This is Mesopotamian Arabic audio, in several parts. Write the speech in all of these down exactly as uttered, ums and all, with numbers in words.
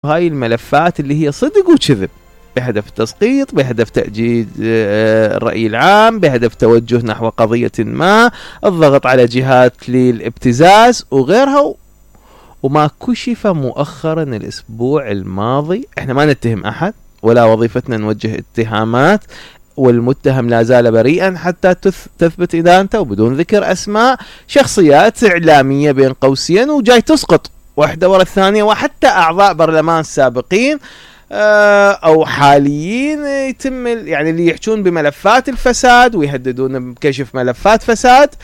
هاي الملفات اللي هي صدق وكذب، بهدف التسقيط، بهدف تأجيج الرأي العام، بهدف توجه نحو قضية ما، الضغط على جهات للابتزاز وغيرها. وما كشف مؤخرا الأسبوع الماضي، احنا ما نتهم أحد ولا وظيفتنا نوجه اتهامات، والمتهم لا زال بريئا حتى تثبت إدانته، وبدون ذكر أسماء شخصيات إعلامية بين قوسين وجاي تسقط واحدة ورا الثانية، وحتى أعضاء برلمان سابقين أو حاليين يتم يعني اللي يحجون بملفات الفساد ويهددون بكشف ملفات فساد،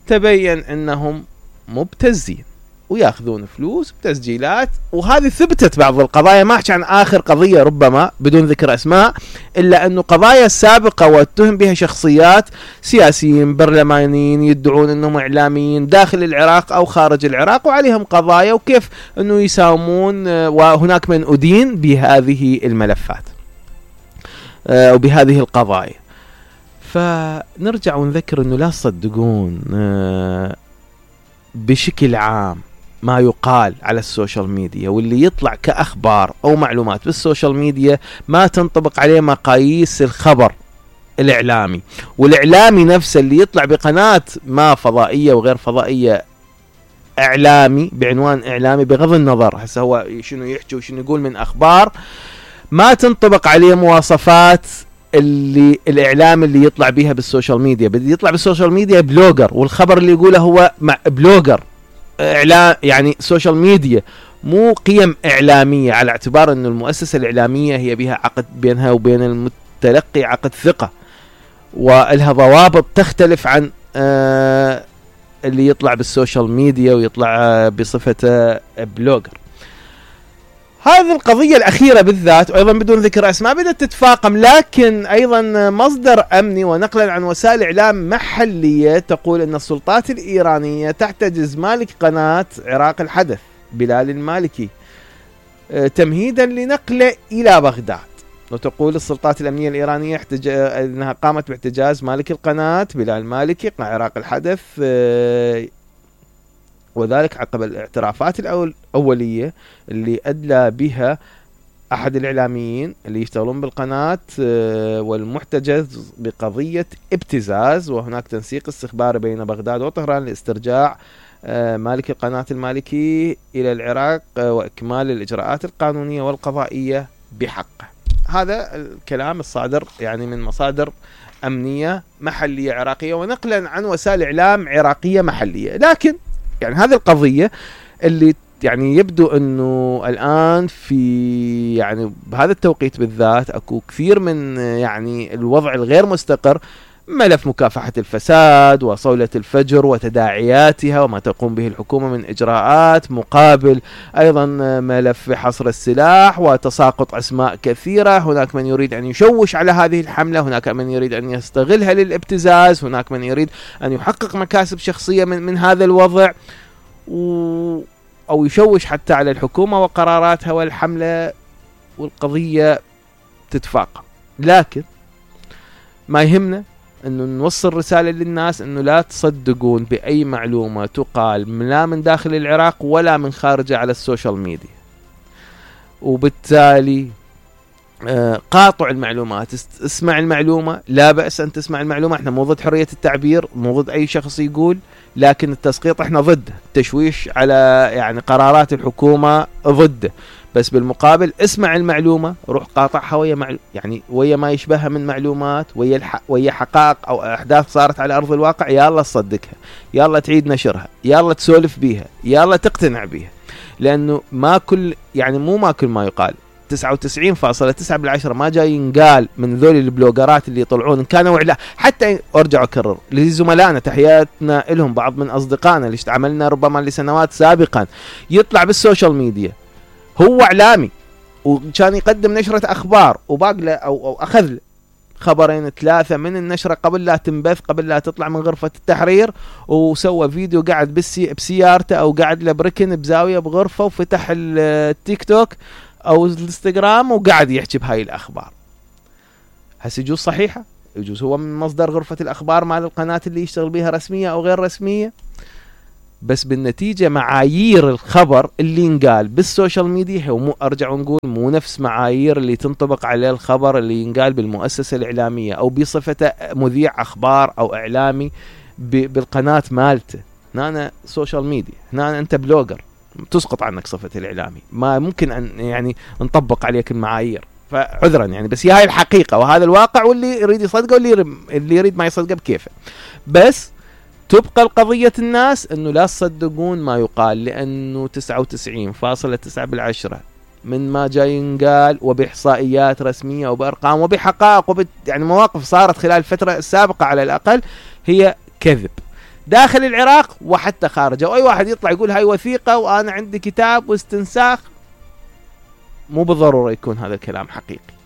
تبين أنهم مبتزين وياخذون فلوس بتسجيلات. وهذه ثبتت بعض القضايا، ما احكي عن آخر قضية ربما بدون ذكر أسماء، إلا أنه قضايا سابقة واتهم بها شخصيات سياسيين برلمانيين يدعون أنهم إعلاميين داخل العراق أو خارج العراق، وعليهم قضايا وكيف أنه يساومون، وهناك من أدين بهذه الملفات وبهذه القضايا. فنرجع ونذكر أنه لا تصدقون بشكل عام ما يقال على السوشيال ميديا، واللي يطلع كأخبار أو معلومات بالسوشيال ميديا ما تنطبق عليه مقاييس الخبر الإعلامي. والإعلامي نفسه اللي يطلع بقناة ما فضائية وغير فضائية إعلامي بعنوان إعلامي، بغض النظر هسه هو شنو يحكي وشنو يقول من أخبار، ما تنطبق عليه مواصفات اللي الإعلام اللي يطلع بيها بالسوشيال ميديا. بدي يطلع بالسوشيال ميديا بلوجر، والخبر اللي يقوله هو مع بلوجر إعلام، يعني سوشيال ميديا مو قيم إعلامية، على اعتبار أن المؤسسة الإعلامية هي بها عقد بينها وبين المتلقي، عقد ثقة ولها ضوابط تختلف عن آه اللي يطلع بالسوشيال ميديا ويطلع آه بصفة بلوجر. هذه القضية الأخيرة بالذات، وأيضا بدون ذكر أسماء، بدأت تتفاقم، لكن أيضا مصدر أمني ونقلا عن وسائل إعلام محلية تقول أن السلطات الإيرانية تحتجز مالك قناة عراق الحدث بلال المالكي تمهيدا لنقله إلى بغداد. وتقول السلطات الأمنية الإيرانية احتج... أنها قامت باحتجاز مالك القناة بلال المالكي قناة عراق الحدث، وذلك عقب الاعترافات الأولية اللي أدلى بها أحد الإعلاميين اللي يشتغلون بالقناة والمحتجز بقضية ابتزاز، وهناك تنسيق استخباري بين بغداد وطهران لاسترجاع مالك القناة المالكي إلى العراق وإكمال الإجراءات القانونية والقضائية بحقه. هذا الكلام الصادر يعني من مصادر أمنية محلية عراقية ونقلا عن وسائل إعلام عراقية محلية. لكن يعني هذه القضية اللي يعني يبدو أنه الآن في يعني بهذا التوقيت بالذات أكو كثير من يعني الوضع الغير مستقر، ملف مكافحة الفساد وصولة الفجر وتداعياتها وما تقوم به الحكومة من إجراءات، مقابل أيضا ملف حصر السلاح وتساقط أسماء كثيرة. هناك من يريد أن يشوش على هذه الحملة، هناك من يريد أن يستغلها للابتزاز، هناك من يريد أن يحقق مكاسب شخصية من, من هذا الوضع و أو يشوش حتى على الحكومة وقراراتها والحملة، والقضية تتفاقم. لكن ما يهمنا أنه نوصل رسالة للناس أنه لا تصدقون بأي معلومة تقال لا من داخل العراق ولا من خارجه على السوشيال ميديا، وبالتالي قاطع المعلومات. اسمع المعلومة، لا بأس أن تسمع المعلومة، احنا مو ضد حرية التعبير، مو ضد أي شخص يقول، لكن التسقيط احنا ضده، التشويش على يعني قرارات الحكومة ضده. بس بالمقابل اسمع المعلومة، روح قاطعها ويا معلو... يعني ويا ما يشبهها من معلومات، ويا الح... ويا حقائق أو أحداث صارت على أرض الواقع، يلا تصدقها، يلا تعيد نشرها، يلا تسولف بيها، يلا تقتنع بيها. لأنه ما كل يعني مو ما كل ما يقال تسعة وتسعين فاصلة تسعة بالعشرة ما جاي ينقال من ذول البلوجرات اللي يطلعون، كانوا إعلام. حتى أرجع أكرر لزملائنا، تحياتنا لهم، بعض من أصدقائنا اللي اشتعملنا ربما لسنوات سابقا، يطلع بالسوشيال ميديا هو إعلامي وكان يقدم نشرة أخبار وباقله أو, أو أخذ خبرين ثلاثة من النشرة قبل لا تنبث، قبل لا تطلع من غرفة التحرير، وسوى فيديو قاعد بسي بسيارته أو قاعد لبركن بزاوية بغرفة، وفتح التيك توك أو الانستغرام وقاعد يحكي بهاي الأخبار. هسه يجوز صحيحة، يجوز هو من مصدر غرفة الأخبار مال القناة اللي يشتغل بها رسمية أو غير رسمية. بس بالنتيجة معايير الخبر اللي ينقال بالسوشيال ميديا هو مو ارجع ونقول مو نفس معايير اللي تنطبق عليه الخبر اللي ينقال بالمؤسسة الاعلامية او بصفته مذيع اخبار او اعلامي بالقناة مالته. هنا سوشيال ميديا، هنا انت بلوجر تسقط عنك صفة الاعلامي، ما ممكن ان يعني نطبق عليك المعايير، فعذرا يعني، بس هي هاي الحقيقة وهذا الواقع، واللي يريد يصدقه واللي اللي يريد ما يصدقه بكيفه. بس تبقى القضية الناس انه لا تصدقون ما يقال، لانه تسعة وتسعين فاصلة تسعة بالعشرة من ما جاي ينقال وبإحصائيات رسمية وبأرقام وبحقائق وب يعني مواقف صارت خلال الفترة السابقة على الأقل هي كذب داخل العراق وحتى خارجه. واي واحد يطلع يقول هاي وثيقة وانا عندي كتاب واستنساخ، مو بالضرورة يكون هذا الكلام حقيقي.